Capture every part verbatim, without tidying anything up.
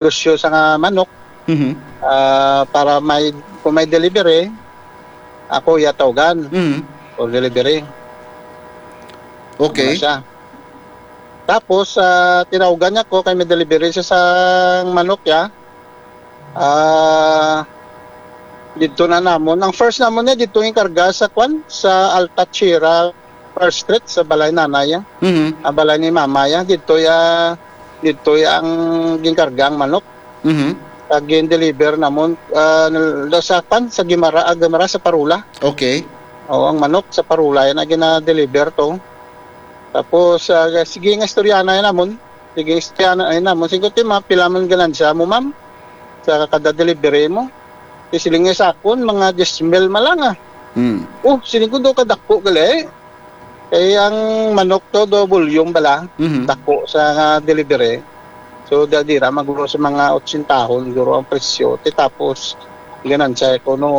negosyo sa nga manok. Mhm. Ah, para may, kung may delivery, ako iya tawgan Mhm. for delivery. Okay. Ano siya? Tapos, ah, tinawgan niya ko kay may delivery siya sa manok ya. Ah, dito na namon. Ang first namon niya dito yung karga sa kwan, sa Alta Sierra First Street, sa balay nanay ya. Mhm. Ang balay ni mama ya, dito ya, dito ya ang ginkarga ang manok. Mhm. Kag gin-deliver namon, ah, nal-, sa kwan, sa Guimara, ah, Guimara, sa Parola. Okay. Oo, ang manok sa Parola yan ang gina-deliver to. Tapos, ah, sige nga istorya na yan namon. Sige, istorya na yan namon. Sige, ti, ma, pila man ganansya mo, ma'am? Sa kada delivery mo? Ti, siling niya sa akon, mga diyes mil man lang, ah. Mm. Oh, siling ko, do kadako gali. Kay ang manok to, do volume bala. Mhm. Dako sa nga delivery. So, da-, dira maguro sa mga otsentahon, siguro ang presyo. Ti, tapos, ganansya ko, no,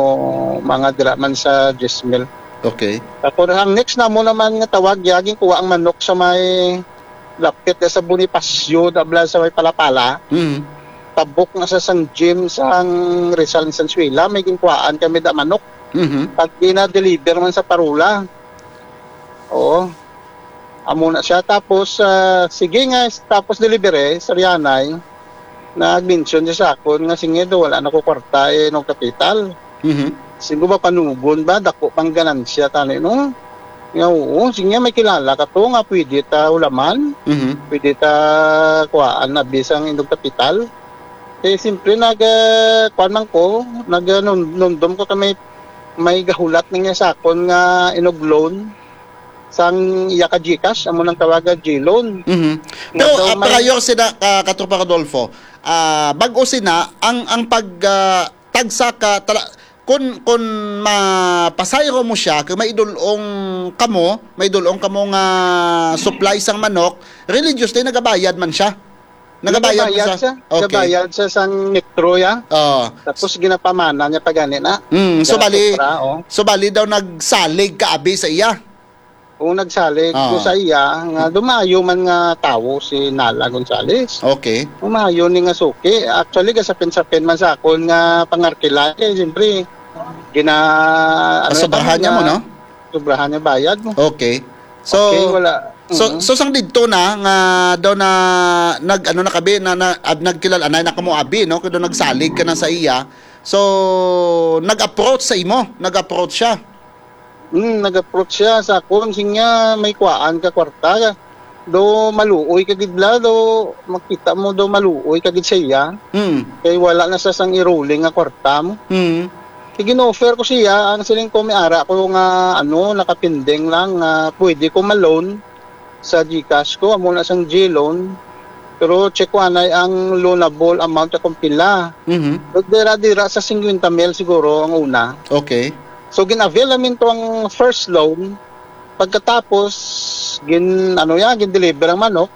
mga dira man sa diyes mil. Okay. Tapos, ang next na mo naman nga tawag, ya, ginkuha ang manok sa may lapit na sa Bonifacio, da bala sa may Palapala. Mhm. Tabok na sa sang gym sang Rizal ni Sansuela, may ginkuhaan kami da manok. Mhm. Pag gina-deliver man sa Parola. Oo. Amo na siya. Tapos, ah, sige nga, tapos delivery, sa Rianay, nag-mention siya sa akon nga, "Sige daw, wala na ko kwarta, eh, no kapital." Mhm. Siguro ba panugon ba? Dako pang ganansya tani, no? Nga, oo, sige, may kilala ka to nga pwede ta ulaman, Mhm. pwede ta kuhaan na bisang indog kapital. Eh, siyempre, nag, ah, kuwan man ko, nag, ah, num-, numdom ko ka may, may gahulat na niya sa akon nga inog loan sang iya ka GCash, amo nang tawaga G-loan. Mhm. Nga Pero, daw ah, may prior sila, ka, Katropa Rodolfo, ah, bag-o sina, ang, ang pag, ah, tagsa ka tala-, kun, kun mapasayro mo siya, kung may idulong kamo, may idulong kamo nga supply sang manok, religiously nagabayad man siya. Nagabayad man Nagabayad siya. siya. Okay. Nagabayad siya sang metro, ya. Oo. Tapos ginapamana niya pa gani na. Mm, so Sa bali, Supra, oh. so bali daw nagsalig ka abi sa iya. Oo, nagsalig Ah. ko sa iya nga dumayo man nga tawo si Nala Gonzales. Okay. Umayo ni nga suki. Actually, gasapin-sapin man sa akon nga pangarkila. Kay siyempre, gina-, ano Pasobrahan niya mo, nga no? sobrahan niya bayad mo. Okay. So, Okay, wala. so, Mhm. so sang didto na nga daw na nag-, ano na kabi, na, na, ab-, nagkilala na, na kamo abi, no? Kay daw nagsalig ka na sa iya. So, nag-approach sa imo, nag-approach siya. Hmm, nag-approach siya sa akon, sing niya, "May kuhaan ka kwarta. Do maluoy ka gid la, do makita mo do maluoy ka gid sa iya. Hmm. Kay wala na sa sang iruling nga kwarta mo." Hmm. Sige, in-offer ko siya, ang siling ko, may ara ko nga, ano, nakapinding lang, nga pwede ko ma-loan sa GCash ko, amo na sang G-loan. Pero check ko anay ang loanable amount kung pila. Mhm. Pero dira-dira sa singkwenta mil siguro ang una. Okay. So, gin-avail namin to ang first loan. Pagkatapos, gin-, ano yan, gin-deliver ang manok.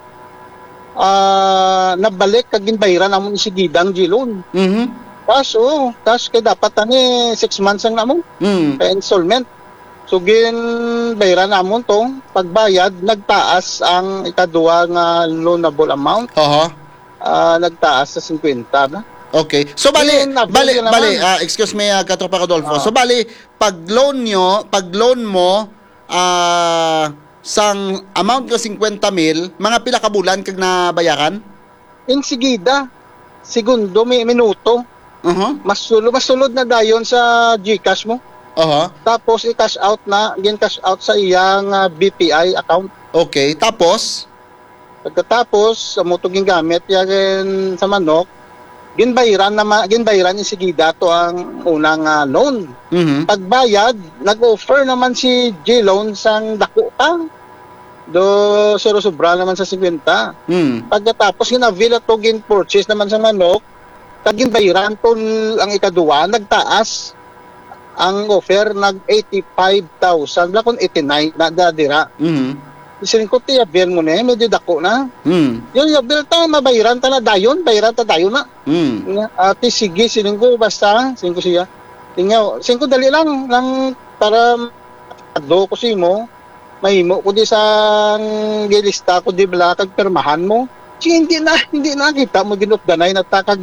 Ah, nabalik kag ginbayran namon isigida ang G-loan. Mhm. Cash, oo. Cash kay dapat ani six months ang namon. Mm. Kay installment. So, ginbayran namon to. Pagbayad, nagtaas ang ikaduha nga loanable amount. Aha. Ah, nagtaas sa singkwenta na. Okay. So, bali, Then, avail bali, ka naman. bali, ah, excuse me, ah, Katropa Rodolfo. Ah. So, bali, pag loan nyo, pag loan mo, ah, sang amount nga singkwenta mil, mga pila ka bulan kag nabayaran? Insigida, segundo, mi-, minuto. Aha. Mas sulo-, mas sulod na dayon sa GCash mo. Aha. Tapos i-cash out na, gin-cash out sa iyang, ah, B P I account. Okay, tapos? Pagkatapos, amo to gingamit ya gin-, sa manok, ginbayran na ma-, ginbayran insigida to ang unang, ah, loan. Mhm. Pagbayad, nag-offer naman si G-Loan sang dako pa. Do, sero sobra naman sa singkwenta. Mm. Pagkatapos, gin-avail ato, gin-purchase naman sa manok, kag ginbayran to ang ikaduwa, nagtaas ang offer, nag eighty-five thousand, wala kon eighty-nine na da dira. Mhm. Siling ko, "Ti, avail mo ni, medyo dako na." Mm. Yun, avail ta, mabayran ta na dayon, bayran ta dayon na. Mm. Nga, "Ate, sige," siling ko, "basta," siling ko siya. Tingnan, siling ko, "Dali lang, lang para do ko simo, mahimo ko di sang gilista ko di bala kag pirmahan mo." Hindi na, hindi na kita mo ginutdanay na takag